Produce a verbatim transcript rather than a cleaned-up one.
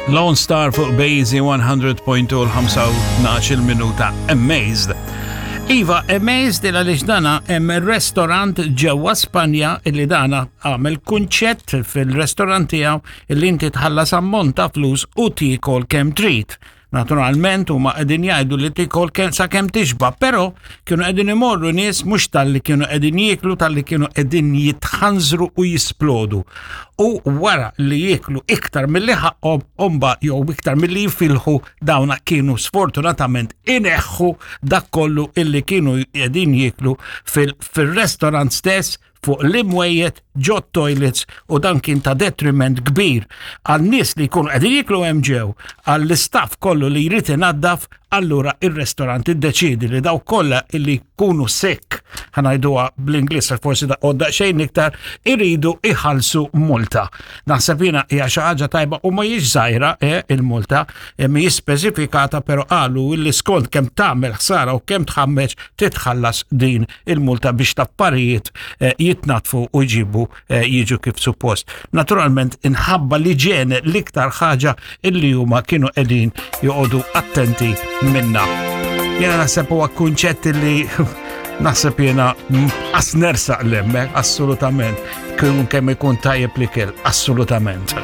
Lone Star fuq Bazy mija punt tnejn, l-ħamsa u tnax minuta. Amazed. Iva, amazed il għaliex dana hemm restaurant ġewwa Spanja illi dana għamel kunċett fil-restaurant tiegħu illi inti tħallas ammont ta' flus u tiekol kemm trid. Naturalment huma qegħdin jgħidu li tikol kemm sa kemm tixba, però kienu qegħdin imorru nies mhux talli kienu qegħdin jieklu, talli kienu qegħdin jitħanżru u jisplodu. U wara li jieklu iktar milli ħaqhom omba jew iktar milli jifilħu, dawna kienu sfortunatament ineħħu dak kollu illi kienu qegħdin jieklu fil-restaurant stess, fuq l-imwejjed, ġo toilets, u dan kien ta' detriment kbir għal nies li jkunu qegħdin jieklu hemm ġew, għall-istaff kollu li jrid inaddaf. Allura ir-restaurant iddeċidi li daw kollha illi jkunu sick, ħa ngħiduha bl-Ingliż forsi da għodda xejn iktar, iridu iħallsu multa. Naħseb jiena hija xi ħaġa tajba u ma jiex żgħira eh, il-multa eh, mhijiex speċifikata, però qalu illi skont kemm tagħmel ħsara u kemm tħammeġ titħallas din il-multa biex l-affarijiet eh, jitnatfu u jġibu eh, jiġu kif suppost. Naturalment inħabba li ġene l-iktar ħaġa illi huma kienu qegħdin joqogħdu attenti minna. Jena naħseb huwa kunċett li naħseb jena qas nersaq 'l hemmek, assolutament. Kun kemm ikun tajjeb li kell, assolutament.